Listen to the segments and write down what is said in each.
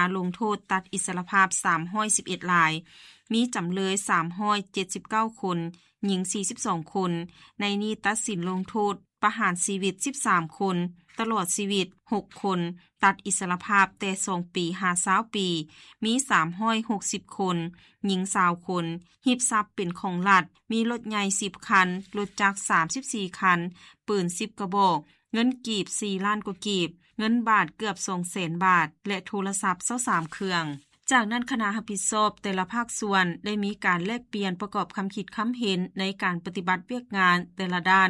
າລົງໂທດຕັດອິດສະຫຼະພາບສາມຮ້ອຍສິບເອັດລາຍ, ມີຈຳເລີຍສາມຮ້ອຍເຈັດສິບເກົ້າຄົນ, ຍິງສີ່ສິບສອງຄົນ. ໃນນີ້ຕັດສິນລົງໂທດປະຫານຊີວິດສິບສາມຄົນ, ຕະຫຼອດຊີວິດຫົກຄົນ, ຕັດອິດສະຫຼະພາບແຕ່ສອງປີຫາຊາວປີ ມີສາມຮ້ອຍຫົກສິບຄົນ, ຍິງຊາວຄົນ, ຮີບຊັບເປັນຂອງລັດ ມີລົດໃຫຍ່ສິບຄັນ, ລົດຈັກສາມສິບສີ່ຄັນ, ປືນສິບກະບອກ, ເງິນກີບສີ່ລ້ານກວ່າກີບ, ເງິນບາດເກືອບສອງແສນບາດ ແລະ ໂທລະສັບຊາວສາມເຄື່ອງ. ຈາກນັ້ນຄະນະຮັບຜິດຊອບແຕ່ລະພາກສ່ວນໄດ້ມີການແລກປ່ຽນປະກອບຄຳຄິດຄຳເຫັນໃນການປະຕິບັດວຽກງານແຕ່ລະດ້ານ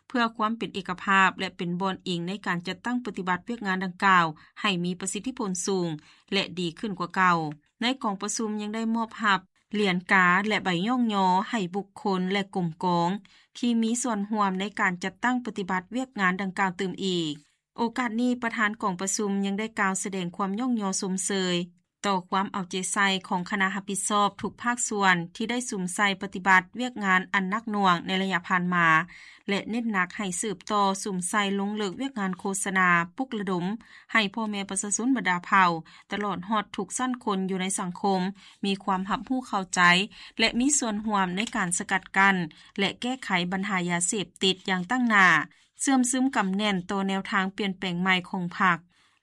ເພື່ອຄວາມເປັນເອກະພາບ ແລະ ເປັນບ່ອນອີງໃນການຈັດຕັ້ງປະຕິບັດວຽກງານດັ່ງກ່າວໃຫ້ມີປະສິດທິຜົນສູງ ແລະ ດີຂຶ້ນກວ່າເກົ່າ. ໃນກອງປະຊຸມຍັງໄດ້ມອບຮັບຫຼຽນກາ ແລະ ໃບຍ້ອງຍໍໃຫ້ບຸກຄົນ ແລະ ກົມກອງ ທີ່ມີສ່ວນຮ່ວມໃນການຈັດຕັ້ງປະຕິບັດວຽກງານດັ່ງກ່າວຕື່ມອີກ. ໂອກາດນີ້ປະທານກອງປະຊຸມຍັງໄດ້ກ່າວສະແດງຄວາມຍ້ອງຍໍຊົມເຊີຍຕໍ່ຄວາມເອົາໃຈໃສ່ຂອງຄະນະຮັບຜິດຊອບທຸກພາກສ່ວນທີ່ໄດ້ສຸມໃສ່ປະຕິບັດວຽກງານອັນໜັກໜ່ວງໃນໄລຍະຜ່ານມາ ແລະ ເນັ້ນໜັກໃຫ້ສືບຕໍ່ສຸມໃສ່ລົງເລິກວຽກງານໂຄສະນາ, ປຸກລະດົມໃຫ້ພໍ່ແມ່ປະຊາຊົນບັນດາເຜົ່າ ຕະຫຼອດຮອດທຸກຊັ້ນຄົນຢູ່ໃນສັງຄົມ ມີຄວາມຮັບຮູ້ເຂົ້າໃຈ ແລະ ມີສ່ວນຮ່ວມໃນການສະກັດກັ້ນ ແລະ ແກ້ໄຂບັນຫາຢາເສບຕິດຢ່າງຕັ້ງໜ້າ, ເຊື່ອມຊຶມກຳແໜ້ນຕໍ່ແນວທາງປ່ຽນແປງໃໝ່ຂອງພັກ,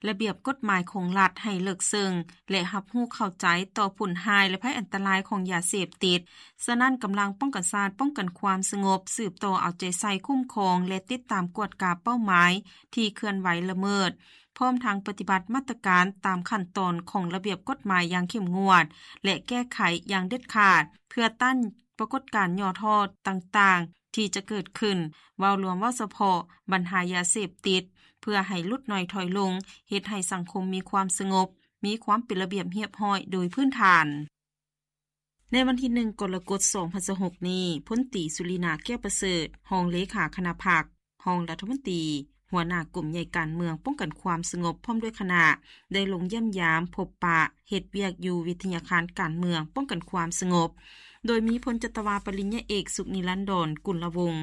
ລະບຽບກົດໝາຍຂອງລັດໃຫ້ເລິກເຊິ່ງ ແລະ ຮັບຮູ້ເຂົ້າໃຈຕໍ່ຜົນຮ້າຍ ແລະ ໄພອັນຕະລາຍຂອງຢາເສບຕິດ. ສະນັ້ນ, ກຳລັງປ້ອງກັນຊາດ, ປ້ອງກັນຄວາມສະຫງົບ ສືບຕໍ່ເອົາໃຈໃສ່, ຄຸ້ມຄອງ ແລະ ຕິດຕາມກວດກາເປົ້າໝາຍທີ່ເຄື່ອນໄຫວລະເມີດ, ພ້ອມທັງປະຕິບັດມາດຕະການຕາມຂັ້ນຕອນຂອງລະບຽບກົດໝາຍຢ່າງເຂັ້ມງວດ ແລະ ແກ້ໄຂຢ່າງເດັດຂາດ ເພື່ອຕ້ານປາກົດການຫຍໍ້ທໍ້ຕ່າງໆ ທີ່ຈະເກີດຂຶ້ນ, ເວົ້າລວມ, ເວົ້າສະເພາະບັນຫາຢາເສບຕິດ ເພື່ອໃຫ້ຫຼຸດໜ້ອຍຖອຍລົງ, ເຮັດໃຫ້ສັງຄົມມີຄວາມສະຫງົບ, ມີຄວາມເປັນລະບຽບຮຽບຮ້ອຍໂດຍພື້ນຖານ. ໃນວັນທີໜຶ່ງ ກໍລະກົດ ສອງພັນຊາວຫົກນີ້, ພົນຕີ ສຸລິນາ ແກ້ວປະເສີດ, ຮອງເລຂາຄະນະພັກ, ຮອງລັດຖະມົນຕີ, ຫົວໜ້າກົມໃຫຍ່ການເມືອງປ້ອງກັນຄວາມສະຫງົບ ພ້ອມດ້ວຍຄະນະ ໄດ້ລົງຢ້ຽມຢາມ, ພົບປະ, ເຮັດວຽກຢູ່ວິທະຍາຄານການເມືອງປ້ອງກັນຄວາມສະຫງົບ, ໂດຍມີພົນຈັດຕະວາປະລິນຍາເອກ ສຸກນິລັນດອນ ກຸນລະວົງ,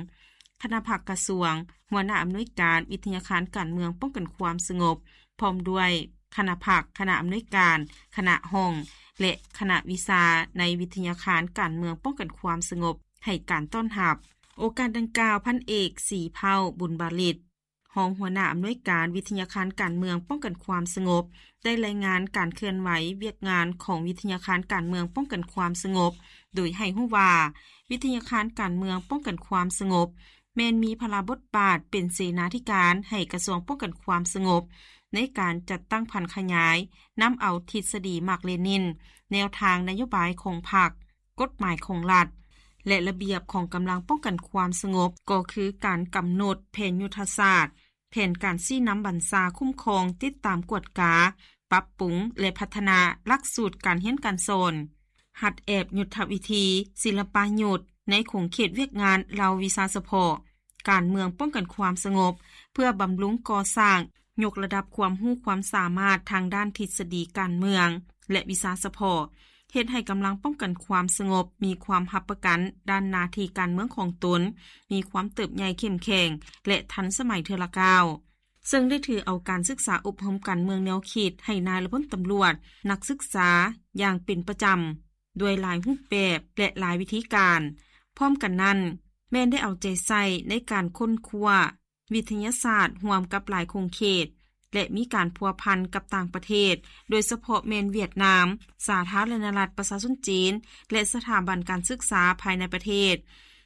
ຄະນະພັກກະຊວງ, ຫົວໜ້າອຳນວຍການວິທະຍາຄານການເມືອງປ້ອງກັນຄວາມສະຫງົບ, ພ້ອມດ້ວຍຄະນະພັກ, ຄະນະອຳນວຍການ, ຄະນະຫ້ອງ ແລະ ຄະນະວິຊາໃນວິທະຍາຄານການເມືອງປ້ອງກັນຄວາມສະຫງົບ ໃຫ້ການຕ້ອນຮັບ. ໂອກາດດັ່ງກ່າວ, ພັນເອກ ສີເພົ້າ ບຸນບາລິດ, ຮອງຫົວໜ້າອຳນວຍການວິທະຍາຄານການເມືອງປ້ອງກັນຄວາມສະຫງົບ ໄດ້ລາຍງານການເຄື່ອນໄຫວວຽກງານຂອງວິທະຍາຄານການເມືອງປ້ອງກັນຄວາມສະຫງົບ ໂດຍໃຫ້ຮູ້ວ່າ ວິທະຍາຄານການເມືອງປ້ອງກັນຄວາມສະຫງົບ ແມ່ນມີພາລະບົດບາດເປັນເສນາທິການໃຫ້ກະຊວງປ້ອງກັນຄວາມສະຫງົບ ໃນການຈັດຕັ້ງຜັນຂະຫຍາຍ, ນຳເອົາທິດສະດີມາກເລນິນ, ແນວທາງນະໂຍບາຍຂອງພັກ, ກົດໝາຍຂອງລັດ ແລະ ລະບຽບຂອງກຳລັງປ້ອງກັນຄວາມສະຫງົບ, ກໍຄືການກຳນົດແຜນຍຸດທະສາດ, ແຜນການຊີ້ນຳບັນຊາ, ຄຸ້ມຄອງ, ຕິດຕາມກວດກາ, ປັບປຸງ ແລະ ພັດທະນາຫຼັກສູດການຮຽນການສອນ, ຫັດແອບຍຸດທະວິທີ, ສິລະປະຍຸດໃນຂົງເຂດວຽກງານເຫຼົ່າວິຊາສະເພາະ, ການເມືອງປ້ອງກັນຄວາມສະຫງົບ ເພື່ອບຳລຸງກໍ່ສ້າງ, ຍົກລະດັບຄວາມຮູ້ຄວາມສາມາດທາງດ້ານທິດສະດີການເມືອງ ແລະ ວິຊາສະເພາະ, ເຮັດໃຫ້ກຳລັງປ້ອງກັນຄວາມສະຫງົບມີຄວາມຮັບປະກັນດ້ານໜ້າທີ່ການເມືອງຂອງຕົນ, ມີຄວາມເຕີບໃຫຍ່ເຂັ້ມແຂງ ແລະ ທັນສະໄໝເທື່ອລະກ້າວ, ເຊິ່ງໄດ້ຖືເອົາການສຶກສາອົບຮົມການເມືອງແນວຄິດໃຫ້ນາຍ ແລະ ພົນຕຳຫຼວດ, ນັກສຶກສາຢ່າງເປັນປະຈຳ ດ້ວຍຫຼາຍຮູບແບບ ແລະ ຫຼາຍວິທີການ. ພ້ອມກັນນັ້ນ, ແມ່ນໄດ້ເອົາໃຈໃສ່ໃນການຄົ້ນຄວ້າວິທະຍາສາດຮ່ວມກັບຫຼາຍຂົງເຂດ ແລະ ມີການພົວພັນກັບຕ່າງປະເທດ, ໂດຍສະເພາະແມ່ນຫວຽດນາມ, ສາທາລະນະລັດປະຊາຊົນຈີນ ແລະ ສະຖາບັນການສຶກສາພາຍໃນປະເທດ,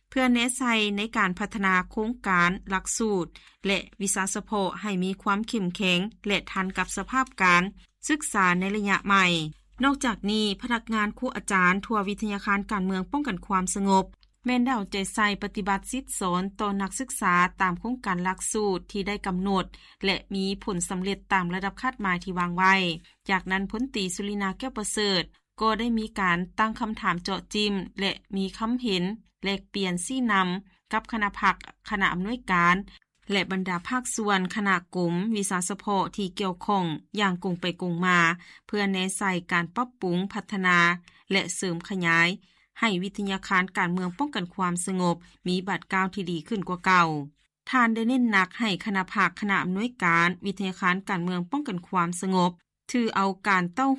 ເພື່ອແນໃສ່ໃນການພັດທະນາໂຄງການ, ຫຼັກສູດ ແລະ ວິຊາສະເພາະໃຫ້ມີຄວາມເຂັ້ມແຂງ ແລະ ທັນກັບສະພາບການສຶກສາໃນໄລຍະໃໝ່. ນອກຈາກນີ້, ພະນັກງານ, ຄູອາຈານທົ່ວວິທະຍາຄານການເມືອງປ້ອງກັນຄວາມສະຫງົບ ແມ່ນໄດ້ເອົາໃຈໃສ່ປະຕິບັດສິດສອນຕໍ່ນັກສຶກສາຕາມໂຄງການຫຼັກສູດທີ່ໄດ້ກຳນົດ ແລະ ມີຜົນສຳເລັດຕາມລະດັບຄາດໝາຍທີ່ວາງໄວ້. ຈາກນັ້ນ, ພົນຕີ ສຸລິນາ ແກ້ວປະເສີດ ກໍໄດ້ມີການຕັ້ງຄຳຖາມເຈາະຈິ້ມ ແລະ ມີຄຳເຫັນແລກປ່ຽນຊີ້ນຳກັບຄະນະພັກ, ຄະນະອຳນວຍການ ແລະ ບັນດາພາກສ່ວນ, ຄະນະກົມ, ວິຊາສະເພາະທີ່ກ່ຽວຂ້ອງຢ່າງກົງໄປກົງມາ ເພື່ອແນໃສ່ການປັບປຸງ, ພັດທະນາ ແລະ ເສີມຂະຫຍາຍ ໃຫ້ວິທະຍາຄານການເມືອງປ້ອງກັນຄວາມສະຫງົບ ມີບາດກ້າວທີ່ດີຂຶ້ນກວ່າເກົ່າ. ທ່ານໄດ້ເນັ້ນໜັກໃຫ້ຄະນະພັກ, ຄະນະອຳນວຍການ ວິທະຍາຄານການເມືອງປ້ອງກັນຄວາມສະຫງົບ ຖືເອົາການເຕົ້າໂຮ